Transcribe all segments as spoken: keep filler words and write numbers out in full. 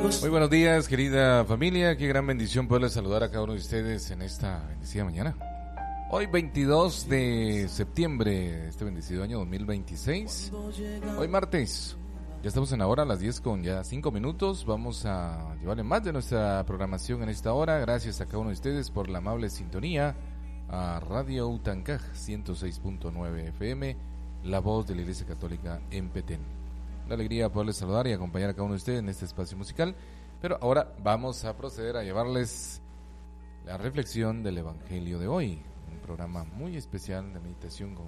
Muy buenos días, querida familia. Qué gran bendición poderles saludar a cada uno de ustedes en esta bendecida mañana. Hoy veintidós de septiembre de este bendecido año dos mil veintiséis. Hoy martes. Ya estamos en la hora, a las diez con ya cinco minutos. Vamos a llevarle más de nuestra programación en esta hora. Gracias a cada uno de ustedes por la amable sintonía a Radio Utancaj ciento seis punto nueve F M, la voz de la Iglesia Católica en Petén. Una alegría poderles saludar y acompañar a cada uno de ustedes en este espacio musical. Pero ahora vamos a proceder a llevarles la reflexión del Evangelio de hoy. Un programa muy especial de meditación con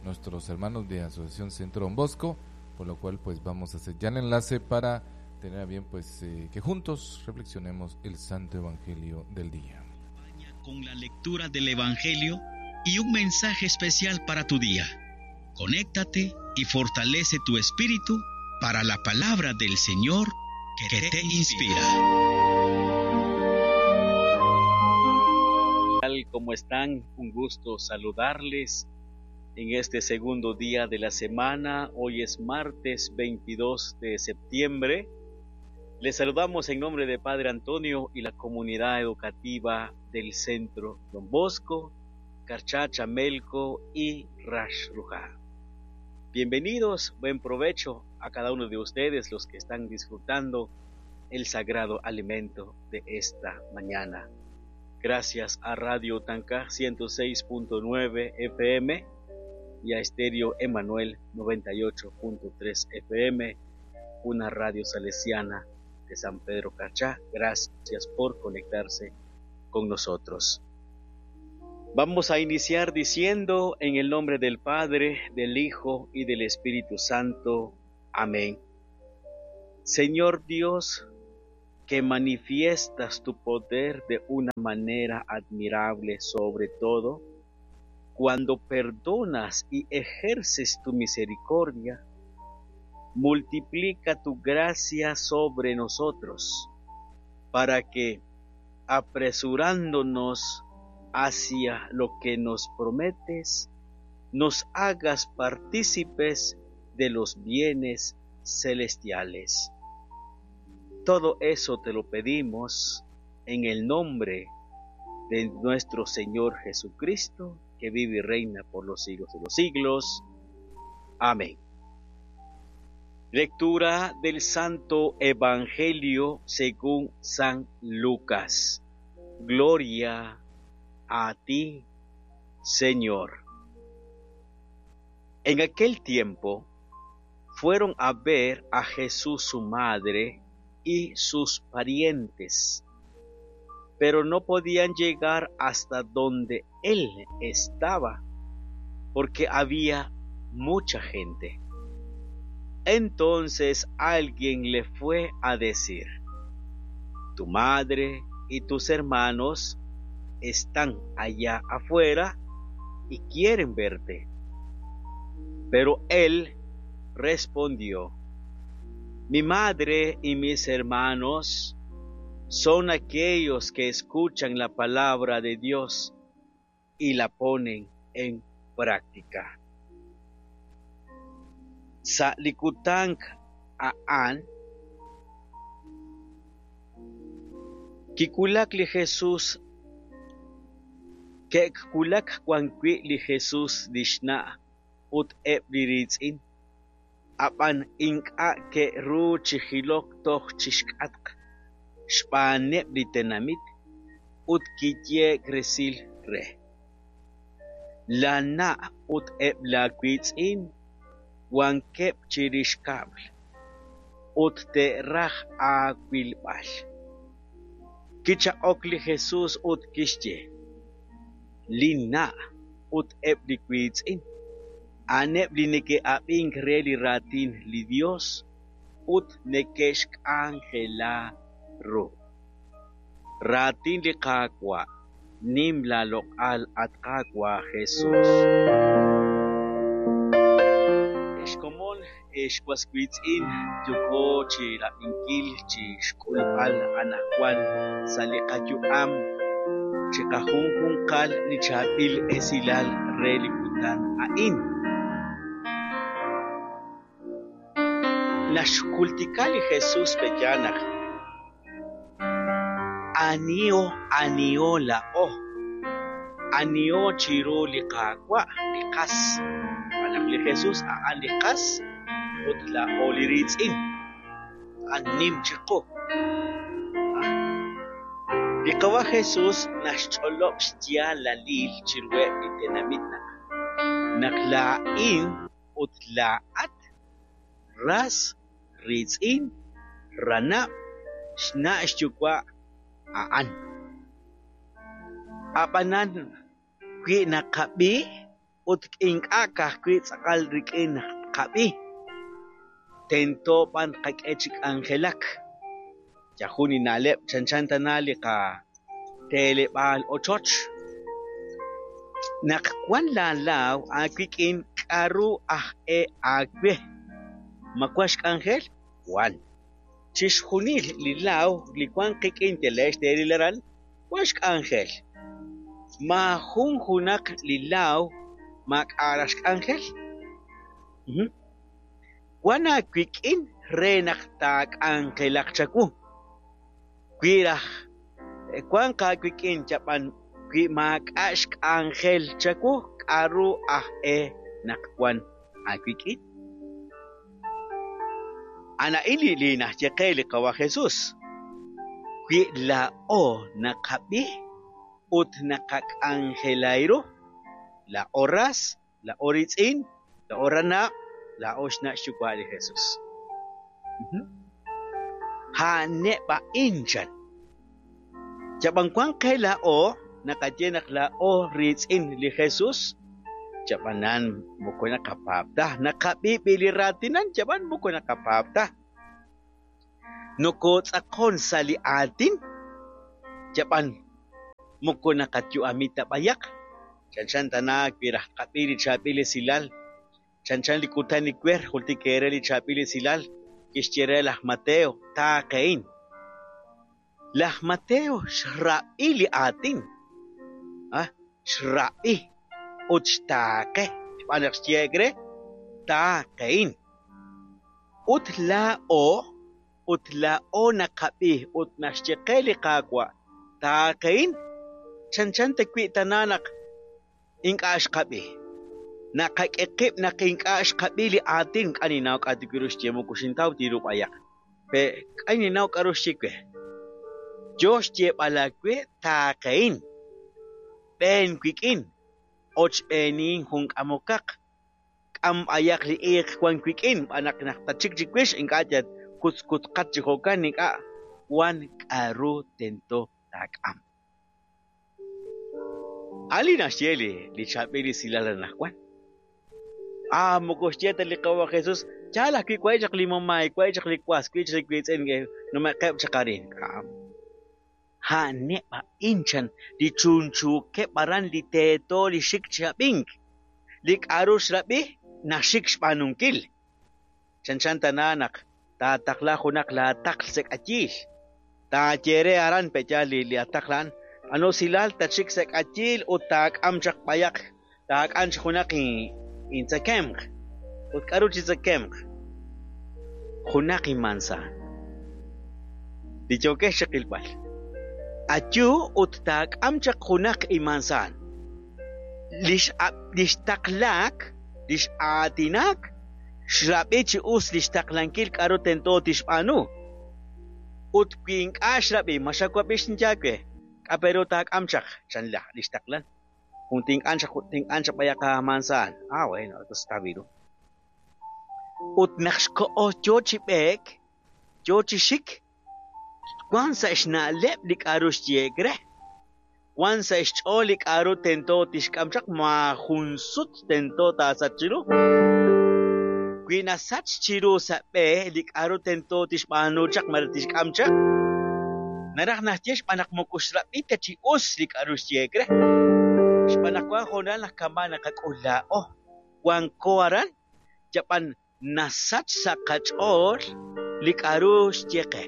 nuestros hermanos de Asociación Centro Don Bosco, por lo cual pues vamos a hacer ya el enlace para tener a bien pues eh, que juntos reflexionemos el Santo Evangelio del día. Con la lectura del Evangelio y un mensaje especial para tu día. Conéctate y fortalece tu espíritu para la palabra del Señor que te inspira. ¿Cómo están? Un gusto saludarles en este segundo día de la semana. Hoy es martes veintidós de septiembre. Les saludamos en nombre de Padre Antonio y la comunidad educativa del Centro Don Bosco, Carchá, Chamelco y Raxruhá. Bienvenidos, buen provecho a cada uno de ustedes los que están disfrutando el sagrado alimento de esta mañana. Gracias a Radio Tancaj ciento seis punto nueve F M y a Estéreo Emanuel noventa y ocho punto tres F M, una radio salesiana de San Pedro Carchá. Gracias por conectarse con nosotros. Vamos a iniciar diciendo en el nombre del Padre, del Hijo y del Espíritu Santo. Amén. Señor Dios, que manifiestas tu poder de una manera admirable sobre todo, cuando perdonas y ejerces tu misericordia, multiplica tu gracia sobre nosotros, para que, apresurándonos hacia lo que nos prometes, nos hagas partícipes de los bienes celestiales. Todo eso te lo pedimos en el nombre de nuestro Señor Jesucristo, que vive y reina por los siglos de los siglos. Amén. Lectura del Santo Evangelio según San Lucas. Gloria a ti, Señor. En aquel tiempo fueron a ver a Jesús su madre y sus parientes, pero no podían llegar hasta donde él estaba, porque había mucha gente. Entonces alguien le fue a decir: Tu madre y tus hermanos están allá afuera y quieren verte. Pero él respondió: Mi madre y mis hermanos son aquellos que escuchan la palabra de Dios y la ponen en práctica. Sa likutank aan kikulak li Jesús ke'kulak wan wi' li Jesús lix na' ut eb' li riitz'in, ab'an ink'a' ke'ru chi jilok toj chixk'atq xb'aaneb' li tenamit ut kiyeek resil re. La na' ut eb' la wiitz'in wankeb' chirix kab'l ut te'raj aawilb'al. Kichaq'ok li Jesús ut kixye: Linna' ut eb' li wiitz'in a'aneb' li neke'ab'ink re li raatin li Dios ut neke'xk'anjela ru. Raatin li Qaawa', nim la loq'al at Qaawa' Jesús. Exkomon ex waswiitz'in yoko chi rab'inkil chi xk'ulb'al anaqwan sa' li qayu'am chi qajunjunqal li chaab'il esilal re li kutan a'in. Naxkultika li Jesús peyanaq Anio anio la'o anio chiru li Qaawa' li qas xb'aan li Jesús a'an li qas ut la'o li riitz'in a'an nim chiqu. Li Qawa' Jesús naxch'olob' xyaalalil chiruheb' li tenamit naq naq laa'in ut laa'at ras riitz'in ranab' xna' xyuwa' a'an. Ab'anan wi naqab'i ut ink'a' ka'ajwi' tz'aqal rik'in naq tqab'i tento b'an tqak'e chi k'anjelak. Yajun li na'leb' chanchan tana li qateeleb'aal ochoch. Naq wan laalaaw aawik'in k'aru aj e aawe ma wan xk'anjel wan. Chixjunil li laaw li wan qik'in telex teeril aran wan xk'anjel. Maajun junaq li laaw maak'a' xk'anjel. Wan aawik'in re naq taak'anjelaq chawu. Wi raj wan aawik'in chab'an wi maak'a' xk'anjel chawu k'aru aj e naq wan aawik'in. Ana'in li li naxye qe li Qawa' Jesús. Wi la'o naqab'i ut naqak'anjelay ru la'o ras, la'o riitz'in, la'o ranab', la'o xna' xyuwa' li Jesús. Ha'aneb' a'in chan. Chab'an wan qe la'o naqaye naq la'o riitz'in li Jesús chab'anan moko naqapaab' ta naqab'i b'i li raatinan chab'an moko naqapaab' ta. Nokotz'aqon sa' li aatin chab'an moko naqayu'ami ta b'ayaq. Chanchan tana wi raj tqab'i li chaab'il esilal chanchan li kutan li wer jultik ere li chaab'il esilal kixye re laj Mateo taaqe'in. Laj Mateo xrab'i li aatin ah xrab'i ut xtaaqe xb'aan naq xyeek re taaqe'in. Ut la'o ut la'o naqab'i ut naxye qe li Qaawa' taaqe'in chanchan ta wi' tana naq ink'a' xqab'i. Naqak'e qib' naq ink'a' xqab'i li aatin k'a ninaw k'a tiwiru xye moko xintaw tiru b'ayaq. Pe k'a ninaw k'aru xye we. Yo xyeeb'al aawe taaqe'in b'een wik'in ochb'eenin jun k'amokaq k'am b'ayaq li iiq wan wik'in b'an naq naq tachik chiwix ink'a' yat kutzkutqat chi jo'kan ink'a' wan k'aru tento taak'am. Ali naxye li li chaab'il esilal anaqwan. Ah, moko xye ta li Qawa' Jesús yaal ajwi' wa'i chaq li mamá, wa'i chaq li was, wa'i chaq li wiitz'in nume'qeb' chaq arin. Ha'aneb' a'in chan li chunchuukeb' aran li teeto li xik chi ab'ink. Li k'aru xrab'i naxik xb'aanunkil. Chanchan tana naq taataqla junaq laataql sa' k'ayiil. Taayere aran pe'yaal li li ataqlan ano silal tachik sa' k'ayiil ut taak'am chaq b'ayaq taak'am chaq junaq intzakemq. Ut k'aru chi tzakemq junaq inmansaan. Li yookex chiqilb'al. Ayu ut taak'am chaq junaq inmansaan. Lix lix taqlaak, lix aatinak, xrab'i chi us lix taqlankil k'aru tento tixb'aanu. Ut wi ink'a' xrab'i ma xawab'i xinyawe k'a peru taak'am chaq chan la lix taqlan. Jun tink'an chaq tink'an chaq b'ayaq mansaan. Ah, bueno, entonces está viru. Ut naq xko'o yo chi b'eek, yo chi xik, wan sa' xna'leb' li k'aru xyeek re. Wan sa' xch'ool li k'aru tento tixk'am chaq maajun sut tento taasach chiru. Wi nasach chiru sa' b'e li k'aru tento tixb'aanu chaq malaj tixk'am chaq naraj naxye xb'aan naq moko xrab'i ta chi us li k'aru xyeek re. Xb'aan naq wan hoonal naq kama' naqak'ul la'o wanko aran yab'an nasach sa' qach'ool li k'aru xye qe.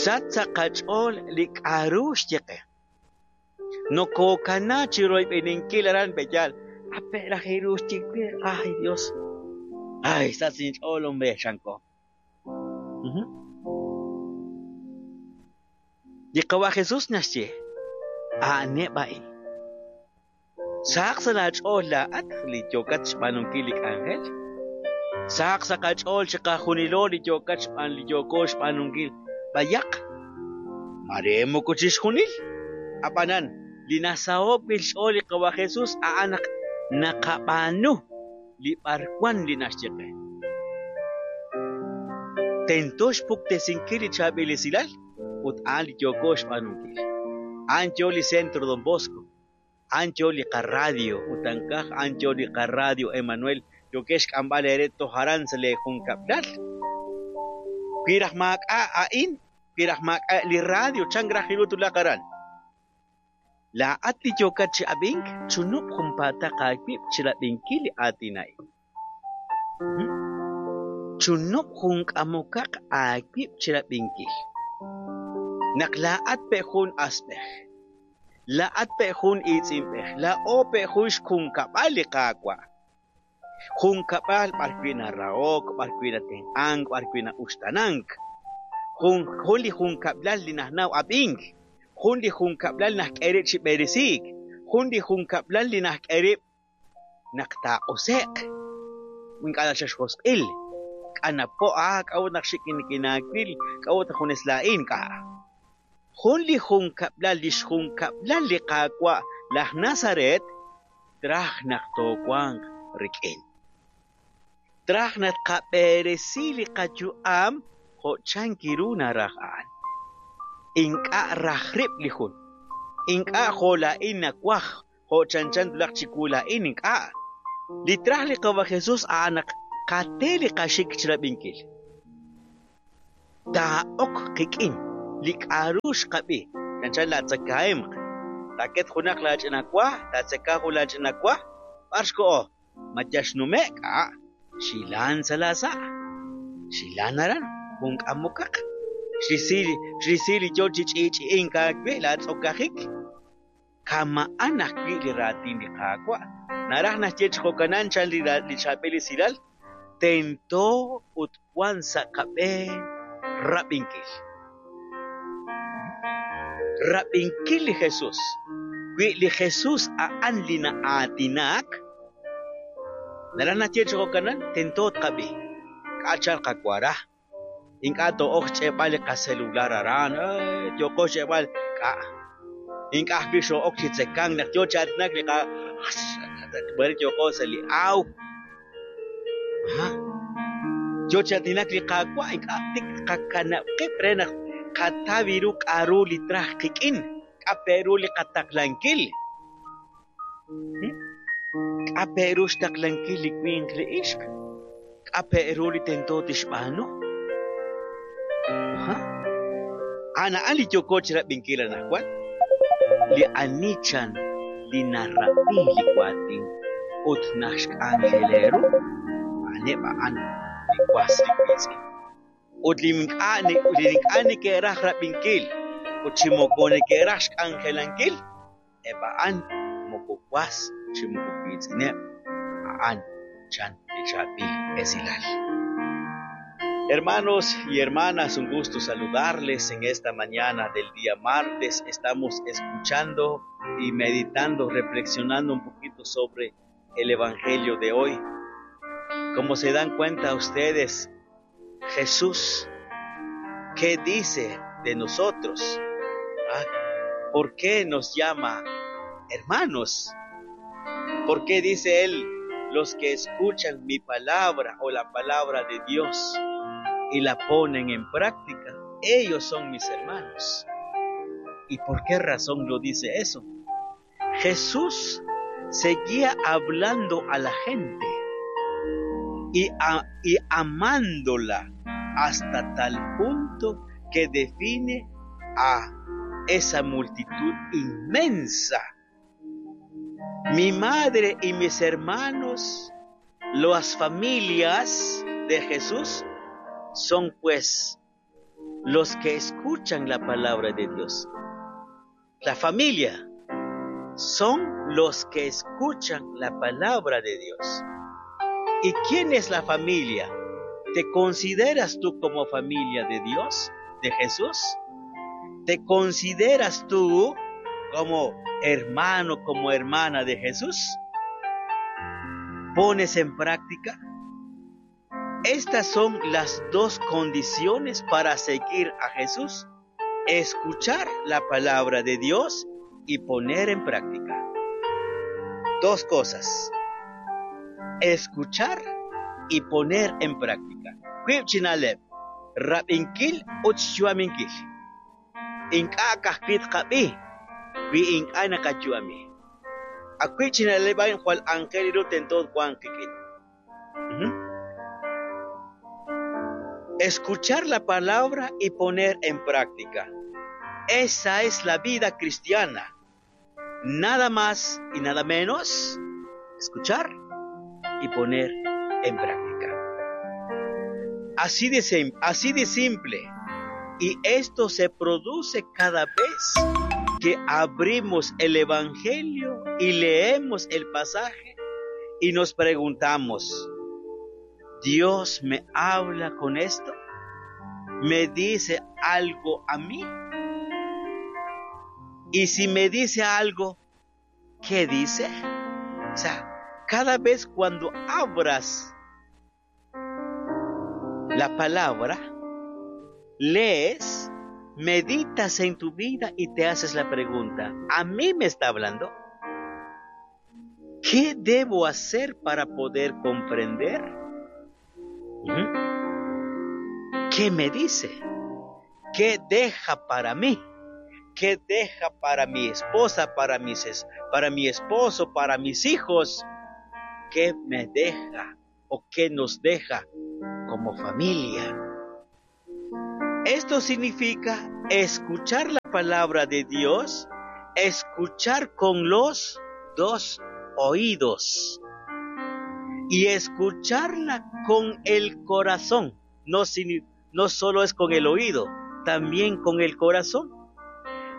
Sach sa' qach'ool li k'aru xye qe. Nokokana chi royb'eninkil aran pe'yaal ape' raj iru xye we ay Dios ay sach inch'ool hombre chanko. Li Qawa' Jesus naxye, a'aneb' a'in. Sahaq sa' laach'ool laa'at li yookat xb'aanunkil li k'anjel. Sahaq sa' qach'ool chiqajunilo li yookat xb'aan li yooko xb'aanunkil b'ayaq. Mare moko chixjunil. Ab'anan, li nasaho'k wi' xch'ool li Qawa' Jesus a'an naq naqab'aanu li b'arwan li naxye qe. Tento xpuktesinkil li chaab'il esilal ut a'an li yooko xb'aanunkil. A'an yo li Centro Don Bosco, a'an yo li qaradio ut ankaj a'an yo li qaradio Emanuel yokex xk'amb'al eere toj aran sa' le junkab'lal. Wi raj maak'a' a'in, wi raj maak'a' li radio chan raj iru tulaq aran. Laa'at li yookat chi ab'ink, chunub' junpaataq aawib' chirab'inkil li aatin a'in. Chunub' junk'amokaq aawib' chirab'inkil. Naq laa'at pe' jun asb'ej, laa'at pe' jun iitz'inb'ej, laa'o pe' jun xjunkab'al li Qaawa'. Junkab'al b'ar wi' narahok, b'ar wi' natenq'ank, b'ar wi' na'uxtanank. Jun jun li junkab'lal li najnaw ab'ink, jun li junkab'lal najk'e rib' chi b'eresiik, jun li junkab'lal li najk'e rib' naq taaq'ose'q. Ink'a' naxaxjosq'il, k'anapo' ah k'a'ut naq xik nikinaawil, k'a'ut naq junes laa'in k'a'. Jun li junkab'lal li xjunkab'lal li Qaawa' laj Nazaret traj naq toowanq rik'in. Traj naq qab'eresi li qayu'am jo' chankiru naraj a'an. Ink'a' raj rib' li jun. Ink'a' jo' laa'in nawaj jo' chanchan tulaq chiwu laa'in ink'a'. Li traj li Qawa' Jesus a'an naq qate li qaxik chirab'inkil. Taa'ok qik'in li k'a'ru xqab'i. Chanchan laatzakahemq. Taaket junaq laach'ina wa, taatzeka jun laach'ina wa, b'ar xko'o. Ma yal xnume' k'a' xilan sa' laasa'. Xilan aran junk'amokaq. Xrisi xrisi li yo chi ch'i'ch'i'ink aawe laatz'okajik. Kama'an ajwi' li raatin li Qaawa'. Naraj naxye chi jo'kanan chan li li chaab'il esilal, tento ut wan sa' qab'een rab'inkil. Rab'inkil li Jesus. Wi li Jesus a'an li na'aatinak, naraj naxye chi jo'kanan tento tqab'i. K'a' chal qawara. Ink'a' to'ok xch'eeb'al li qacelular aran, yooko xch'eeb'al k'a'. Ink'a' ajwi' xo'ok chi tzekank naq yo chi aatinak li qa b'ar yooko sa' li aw. Aha. Yo chi aatinak li Qaawa' ink'a' tik qakanab' qib' re naq qataw ru k'a'ru li traj qik'in, k'a' pe ru li qataqlankil. K'a' pe ru xtaqlankil li winq li ixq, k'a' pe ru li tento tixb'aanu. Aha. A'an a'an li yooko chirab'inkil anaqwan. Li anichan li narab'i li waatin ut naxk'anjele ru, a'aneb' a'an li was li wiitz'in. Ut li ink'a' li ink'a' neke'raj rab'inkil ut chi moko neke'raj xk'anjelankil, eb' a'an moko was chi moko wiitz'ineb', a'an chan li chaab'il esilal. Hermanos y hermanas, un gusto saludarles en esta mañana del día martes. Estamos escuchando y meditando, reflexionando un poquito sobre el Evangelio de hoy. Como se dan cuenta ustedes, Jesús, ¿qué dice de nosotros? ¿Ah? ¿Por qué nos llama hermanos? ¿Por qué dice Él, los que escuchan mi palabra o la palabra de Dios y la ponen en práctica, ellos son mis hermanos? ¿Y por qué razón lo dice eso? Jesús seguía hablando a la gente y, a, y amándola hasta tal punto que define a esa multitud inmensa. Mi madre y mis hermanos, las familias de Jesús, son pues los que escuchan la palabra de Dios. La familia son los que escuchan la palabra de Dios. ¿Y quién es la familia? ¿Te consideras tú como familia de Dios, de Jesús? ¿Te consideras tú como hermano, como hermana de Jesús? ¿Pones en práctica? Estas son las dos condiciones para seguir a Jesús: escuchar la palabra de Dios y poner en práctica. Dos cosas: escuchar y poner en práctica. Kwibchinaleb, rabinkil utchuaminkil. Inka kahkit kabi, wi inka nakachuami. Akwibchinaleb ayn jual angeliru tentod juan kikit. Escuchar la palabra y poner en práctica. Esa es la vida cristiana. Nada más y nada menos, escuchar y poner en práctica. Así de, así de simple. Y esto se produce cada vez que abrimos el Evangelio y leemos el pasaje y nos preguntamos: ¿Dios me habla con esto? ¿Me dice algo a mí? Y si me dice algo, ¿qué dice? O sea, cada vez cuando abras la palabra, lees, meditas en tu vida y te haces la pregunta: ¿a mí me está hablando? ¿Qué debo hacer para poder comprender? ¿Qué me dice? ¿Qué deja para mí? ¿Qué deja para mi esposa, para mis, para mi esposo, para mis hijos? ¿Qué me deja o qué nos deja como familia? Esto significa escuchar la palabra de Dios, escuchar con los dos oídos y escucharla con el corazón. No, no solo es con el oído, también con el corazón.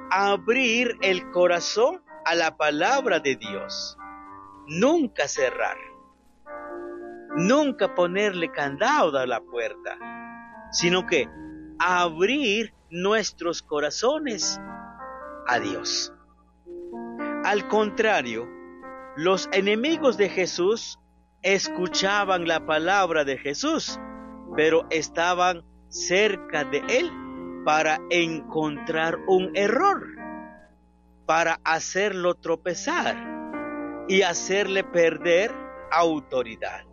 Abrir el corazón a la palabra de Dios. Nunca cerrar. Nunca ponerle candado a la puerta, sino que abrir nuestros corazones a Dios. Al contrario, los enemigos de Jesús escuchaban la palabra de Jesús, pero estaban cerca de él para encontrar un error, para hacerlo tropezar y hacerle perder autoridad.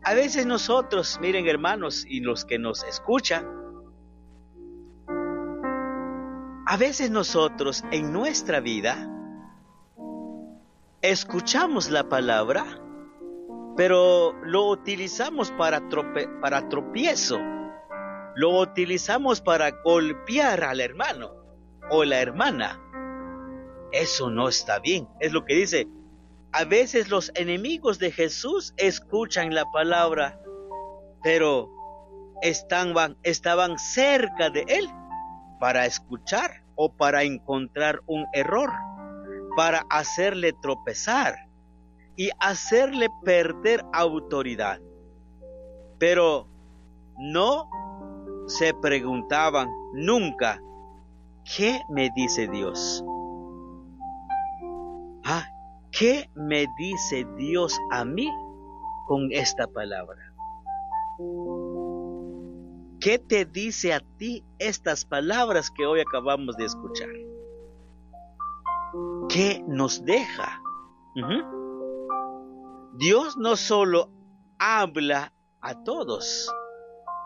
A veces nosotros, miren hermanos, y los que nos escuchan, a veces nosotros en nuestra vida escuchamos la palabra, pero lo utilizamos para, trope, para tropiezo, lo utilizamos para golpear al hermano o la hermana. Eso no está bien, es lo que dice. A veces los enemigos de Jesús escuchan la palabra, pero estaban, estaban cerca de él para escuchar o para encontrar un error, para hacerle tropezar y hacerle perder autoridad. Pero no se preguntaban nunca, ¿qué me dice Dios? Ah, ¿qué me dice Dios a mí con esta palabra? ¿Qué te dice a ti estas palabras que hoy acabamos de escuchar? ¿Qué nos deja? Uh-huh. Dios no solo habla a todos,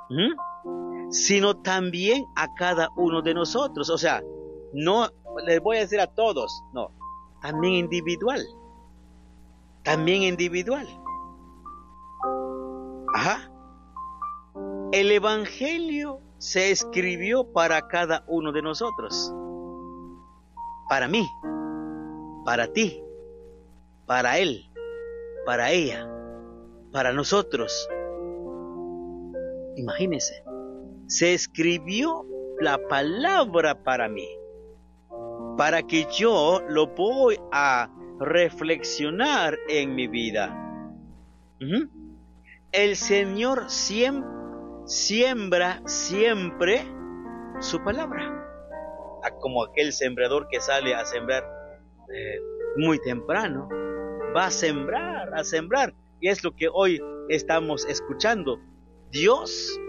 uh-huh, sino también a cada uno de nosotros. O sea, no les voy a decir a todos, no, también individual. También individual. Ajá. El Evangelio se escribió para cada uno de nosotros. Para mí, para ti, para él, para ella, para nosotros. Imagínense, se escribió la palabra para mí, para que yo lo voy a reflexionar en mi vida. Uh-huh. El Señor siempre siembra siempre su palabra. Como aquel sembrador que sale a sembrar eh, muy temprano, va a sembrar, a sembrar. Y es lo que hoy estamos escuchando. Dios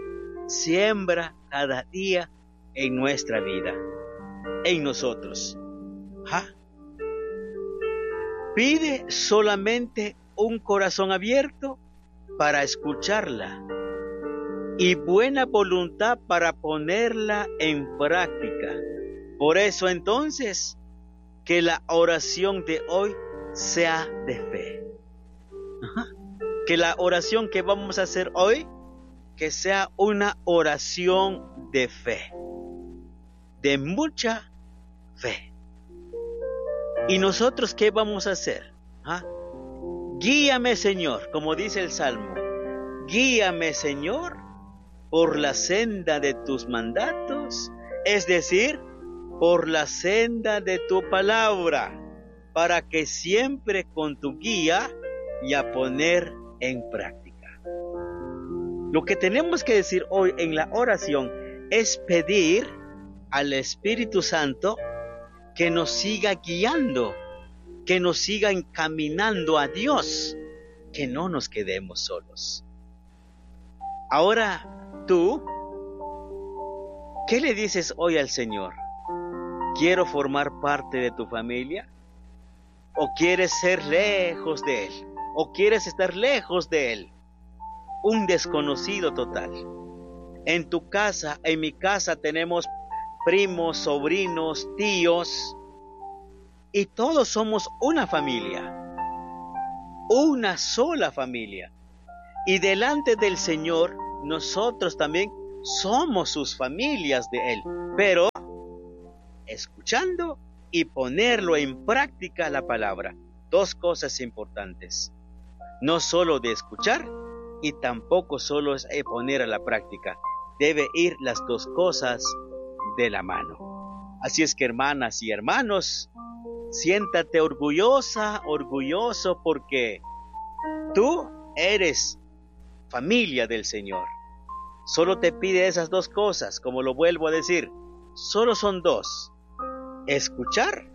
siembra cada día en nuestra vida, en nosotros. ¿Ah? Pide solamente un corazón abierto para escucharla y buena voluntad para ponerla en práctica. Por eso entonces, que la oración de hoy sea de fe. Ajá. Que la oración que vamos a hacer hoy, que sea una oración de fe, de mucha fe. ¿Y nosotros qué vamos a hacer? ¿Ah? Guíame, Señor, como dice el Salmo. Guíame, Señor, por la senda de tus mandatos, es decir, por la senda de tu palabra, para que siempre con tu guía y a poner en práctica. Lo que tenemos que decir hoy en la oración es pedir al Espíritu Santo que nos siga guiando, que nos siga encaminando a Dios, que no nos quedemos solos. Ahora tú, ¿qué le dices hoy al Señor? ¿Quiero formar parte de tu familia? ¿O quieres ser lejos de Él? ¿O quieres estar lejos de Él? Un desconocido total. En tu casa, en mi casa tenemos primos, sobrinos, tíos, y todos somos una familia, una sola familia. Y delante del Señor, nosotros también somos sus familias de Él, pero escuchando y ponerlo en práctica la palabra. Dos cosas importantes. No solo de escuchar y tampoco solo es poner a la práctica. Debe ir las dos cosas de la mano. Así es que, hermanas y hermanos, siéntate orgullosa, orgulloso, porque tú eres familia del Señor. Solo te pide esas dos cosas, como lo vuelvo a decir. Solo son dos: escuchar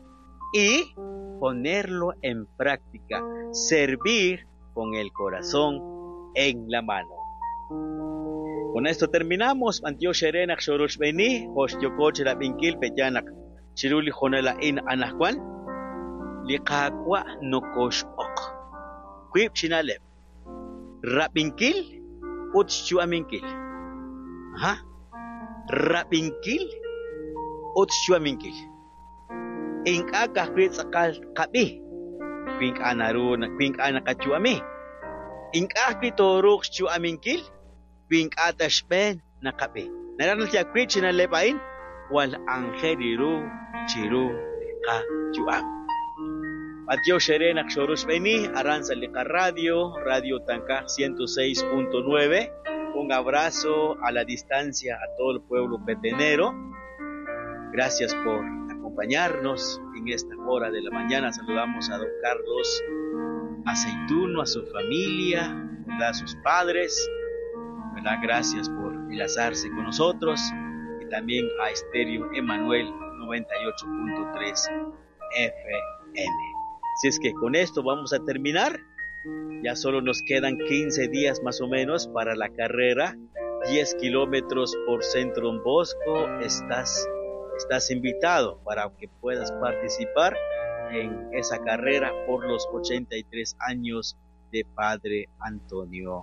y ponerlo en práctica, servir con el corazón en la mano. Con esto terminamos. Antiox Erenak Xorox Beni, Jox Yokoch Rabinkil Peyanak, Chiruli Jonela In Anajwan, Liqaqwa Nokox Ok. Kuip Chinaleb, Rabinkil, Utchuaminkil. Ajá. Rabinkil, Utchuaminkil. Ink'a kajwi tz'aqal qab'i, wi ink'a naru wi ink'a naqachuami. Ink'a ajwi tooruuq xchu'aminkil, wi ink'a ta xb'een naqab'i. Naraj naq chinaleb a'in, wal anjel iru chiru qachu'am. Matiox Erenak Xorox Beni, Aranza Liqa Radio, Radio Tancaj ciento seis punto nueve. Un abrazo a la distancia a todo el pueblo petenero. Gracias por acompañarnos en esta hora de la mañana. Saludamos a don Carlos Aceituno, a su familia, ¿verdad? A sus padres, ¿verdad? Gracias por enlazarse con nosotros. Y también a Estéreo Emanuel noventa y ocho punto tres F M. Así es que con esto vamos a terminar. Ya solo nos quedan quince días más o menos para la carrera. diez kilómetros por Centro Don Bosco. Estás, estás invitado para que puedas participar en esa carrera por los ochenta y tres años de Padre Antonio.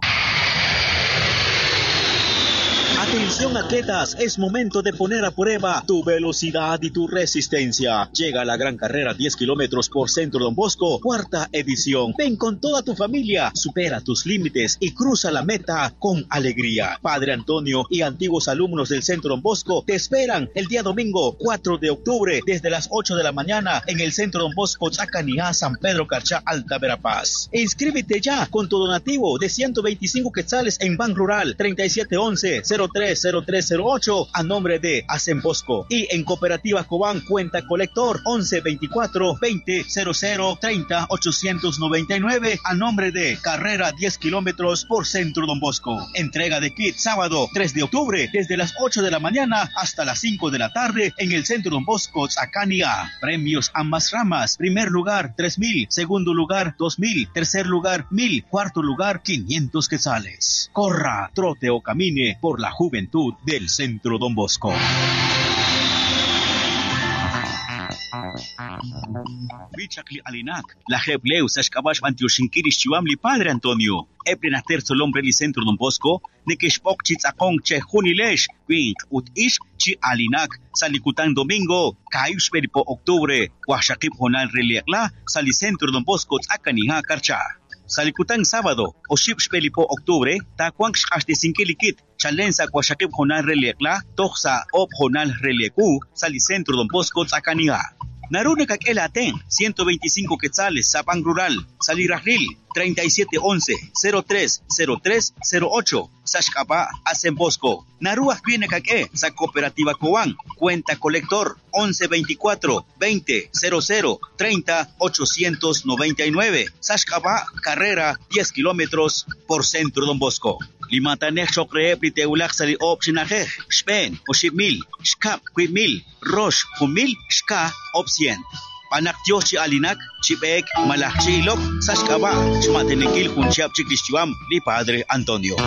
Atención atletas, es momento de poner a prueba tu velocidad y tu resistencia. Llega la gran carrera diez kilómetros por Centro Don Bosco, cuarta edición. Ven con toda tu familia, supera tus límites y cruza la meta con alegría. Padre Antonio y antiguos alumnos del Centro Don Bosco te esperan el día domingo cuatro de octubre desde las ocho de la mañana en el Centro Don Bosco, Chacaniá, San Pedro Carchá, Alta Verapaz. Inscríbete ya con tu donativo de ciento veinticinco quetzales en Ban Rural, treinta y siete once, cero tres cero tres cero ocho a nombre de Asen Bosco. Y en Cooperativa Cobán, cuenta colector once veinticuatro veinte cero cero treinta ochocientos noventa y nueve a nombre de Carrera diez kilómetros por Centro Don Bosco. Entrega de kit sábado tres de octubre desde las ocho de la mañana hasta las cinco de la tarde en el Centro Don Bosco Zacania. Premios ambas ramas. Primer lugar tres mil, segundo lugar dos mil, tercer lugar mil, cuarto lugar quinientos quetzales. Corra, trote o camine por la juventud del Centro Don Bosco. Bichakli Alinak, la Jebleu Sashkabash Antioxinkirish Chiwamli Padre Antonio, Eplena terzo hombre li Centro Don Bosco, Nekeshpok Chitzakong Che Junilesh, Wink Ut Ish Chi Alinak, Salikutan Domingo, Kayushberipo Octubre, Huashakip Honal Reliakla, Sali Centro Don Bosco Tzakaniha Karcha. Salikutan sábado, Oship Xpelipo Octubre, Takuan Xaxtesinkilikit, Chalenza Huashakip Honal Reliakla, Toxa Op Honal Relieku, Sali Centro Don Bosco Tzakaniha. Narune Kakelaten, ciento veinticinco quetzales, Zapán Rural, Salirajril, treinta y siete once, cero tres cero tres cero ocho, Sashkapa, Asen Bosco. Naruaj viene Kake, Sa Cooperativa Cobán, cuenta colector, once veinticuatro, veinte cero cero, treinta ochocientos noventa y nueve, Sashkapa, carrera diez kilómetros por Centro Don Bosco. Limatanej chokreep liteulak sali op shinajej, xpen, oxip mil, xkap, kuip mil, rosh, jumil, xka, op cien. Panak Dios chi alinak, chipek, malach chi ilok, sashkaba, chmatenekil junchiap chiklichiwam, li Padre Antonio.